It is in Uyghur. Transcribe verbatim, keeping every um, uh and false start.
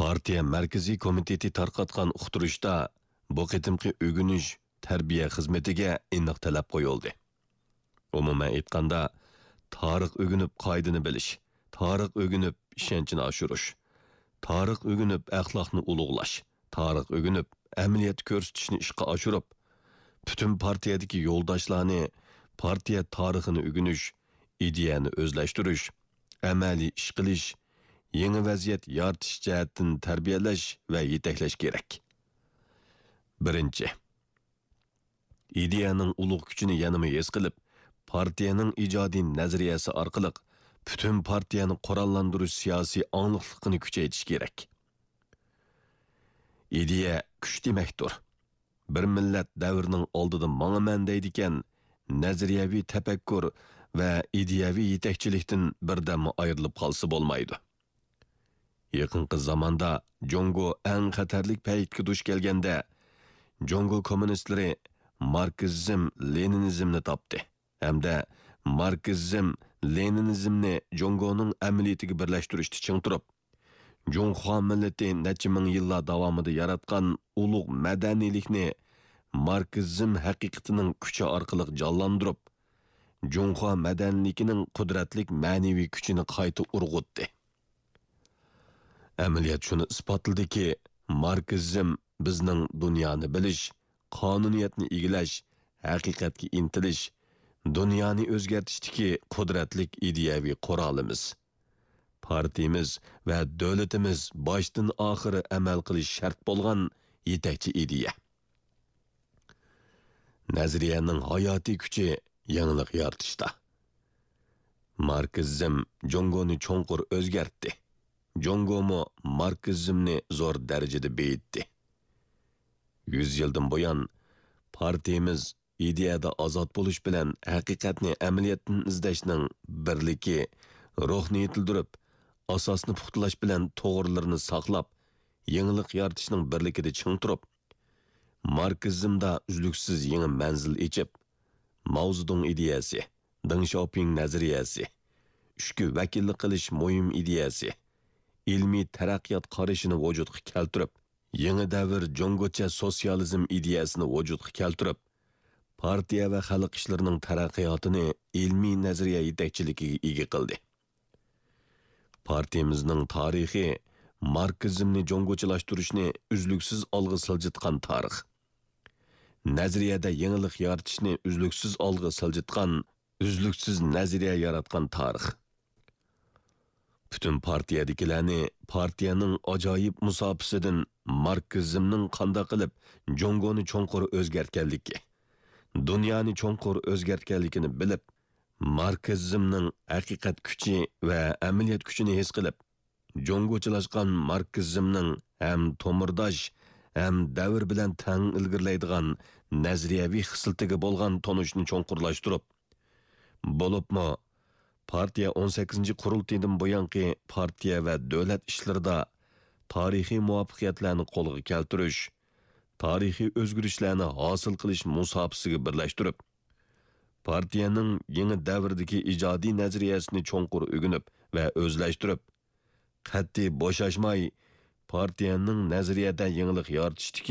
پارتىيە مەركىزىي كومىتېتى تارقاتقان ئۇقتۇرۇشتا بۇ قېتىمقى ئۆگىنىش تەربىيە خىزمىتىگە ئېنىق تەلەپ قويۇلدى. ئومۇمەن ئېيتقاندا، تارىخ ئۆگىنىپ قائىدىنى بىلىش، تارىخ ئۆگىنىپ ئىشەنچنى ئاشۇرۇش، تارىخ ئۆگىنىپ ئەخلاقنى ئۇلۇغلاش، تارىخ ئۆگىنىپ ئەمەلىيەتتە كۆرسىتىشنى ئىشقا ئاشۇرۇپ، پۈتۈن پارتىيەدىكى يولداشلارنى پارتىيە تارىخىنى ئۆگىنىش، ئىدىيەنى ئۆزلەشتۈرۈش، ئەمەلىي ئىش قىلىش، يېڭى ۋەزىيەت يارىتىش جەھەتتىن تەربىيەلەش ۋە يېتەكلەش كېرەك. بىرىنچى، ئىدىيەنىڭ ئۇلۇغ كۈچىنى يەنىمۇ ھېس قىلىپ، پارتىيەنىڭ ئىجادىي نەزەرىيەسى ئارقىلىق پۈتۈن پارتىيەنى قوراللاندۇرۇش سىياسىي ئاڭلىقلىقىنى كۈچەيتىش كېرەك. ئىدىيە كۈچ دېمەكتۇر. بىر مىللەت دەۋرنىڭ ئالدىدا ماڭىمەن دەيدىكەن، نەزەرىيەۋى تەپەككۇر ۋە ئىدىيەۋى يېتەكچىلىكتىن بىردەممۇ ئايرىلىپ قالسا بولمايدۇ. يېقىنقى زاماندا جۇڭگو ئەڭ خەتەرلىك پەيتكە دۇچ كەلگەندە، جۇڭگو كوممۇنىستلىرى ماركسىزم، لېنىنىزمنى تاپتى ھەمدە ماركسىزم، لېنىنىزمنى جۇڭگونىڭ ئەمەلىيىتىگە بىرلەشتۈرۈشتە چىڭ تۇرۇپ، جۇڭخۇا مىللىتى نەچچە مىڭ يىللار داۋامىدا ياراتقان ئۇلۇغ مەدەنىيلىكنى ماركسىزم ھەقىقىتىنىڭ كۈچى ئارقىلىق جانلاندۇرۇپ، جۇڭخۇا مەدەنىيلىكىنىڭ قۇدرەتلىك مەنىۋى كۈچىنى قايتا ئۇرغۇتتى. ئەمەلىيەت شۇنى ئىسپاتلىدىكى، ماركسىزم بىزنىڭ دۇنيانى بىلىش، قانۇنىيەتنى ئىگىلەش، ھەقىقەتكە ئىنتىلىش، دۇنيانى ئۆزگەرتىشتىكى قۇدرەتلىك ئىدىيەۋى قورالىمىز. پارتىيىمىز ۋە دۆلىتىمىز باشتىن ئاخىر ئەمەل قىلىش شەرت بولغان يېتەكچى ئىدىيە. نەزەرىيەنىڭ ھاياتىي كۈچى يېڭىلىق يارىتىشتا. ماركسىزم جۇڭگونى چوڭقۇر ئۆزگەرتتى. جۇڭگومۇ ماركسىزمنى زور دەرىجىدە بېيىتتى. يۈز يىلدىن بۇيان، پارتىيىمىز ئىدىيەدە ئازاد بولۇش بىلەن ھەقىقەتنى ئەمەلىيەتتىن ئىزدەشنىڭ بىرلىكى روھىنى يېتىلدۈرۈپ، ئاساسنى پۇختىلاش بىلەن توغرىلىرىنى ساقلاپ، يېڭىلىق يارىتىشنىڭ بىرلىكىدە چىڭ تۇرۇپ، ماركسىزمدا ئۈزلۈكسىز يېڭى مەنزىل ئېچىپ، ماۋزېدۇڭ ئىدىيەسى، دېڭ شياۋپىڭ نەزەرىيەسى، ئۈچكە ۋەكىللىك قىلىش مۇھىم ئىدىيەسى، ئىلمىي تەرەققىيات قارىشىنى ۋۇجۇدقا كەلتۈرۈپ، يېڭى دەۋر جۇڭگوچە سوتسىيالىزم ئىدىيەسىنى ۋۇجۇدقا كەلتۈرۈپ، پارتىيە ۋە خەلق ئىشلىرىنىڭ تەرەققىياتىنى ئىلمىي نەزەرىيە يېتەكچىلىكىگە ئىگە قىلدى. پارتىيىمىزنىڭ تارىخى ماركسىزمنى جۇڭگوچىلاشتۇرۇشنى ئۈزلۈكسىز ئالغا سىلجىتقان تارىخ. نەزەرىيەدە يېڭىلىق يارىتىشنى ئۈزلۈكسىز ئالغا سىلجىتقان، ئۈزلۈكسىز نەزەرىيە ياراتقان تارىخ. پۈتۈن پارتىيەدىكىلەرنى پارتىيەنىڭ ئاجايىپ مۇساپىسىدىن ماركسىزمنىڭ قانداق قىلىپ جۇڭگونى چوڭقۇر ئۆزگەرتكەنلىكى، دۇنيانى چوڭقۇر ئۆزگەرتكەنلىكىنى بىلىپ، ماركسىزمنىڭ ھەقىقەت كۈچى ۋە ئەمەلىيەت كۈچىنى ھېس قىلىپ، جۇڭگوچىلاشقان ماركسىزمنىڭ ھەم تومۇرداش، ھەم دەۋر بىلەن تەڭ ئىلگىرىلەيدىغان نەزەرىيەۋى خىسلىتىگە بولغان تونۇشنى چوڭقۇرلاشتۇرۇپ، بولۇپمۇ پارتىيە ئون سەككىزىنچى قۇرۇلتىيىدىن بۇيانقى پارتىيە ۋە دۆلەت ئىشلىرىدا تارىخىي مۇۋەپپەقىيەتلەرنى قولغا كەلتۈرۈش، تارىخىي ئۆزگىرىشلەرنى ھاسىل قىلىش مۇساپىسىگە بىرلەشتۈرۈپ، پارتىيەنىڭ يېڭى دەۋردىكى ئىجادىي نەزەرىيەسىنى چوڭقۇر ئۆگىنىپ ۋە ئۆزلەشتۈرۈپ، قەتئىي بوشاشماي پارتىيەنىڭ نەزەرىيەدە يېڭىلىق يارىتىشتىكى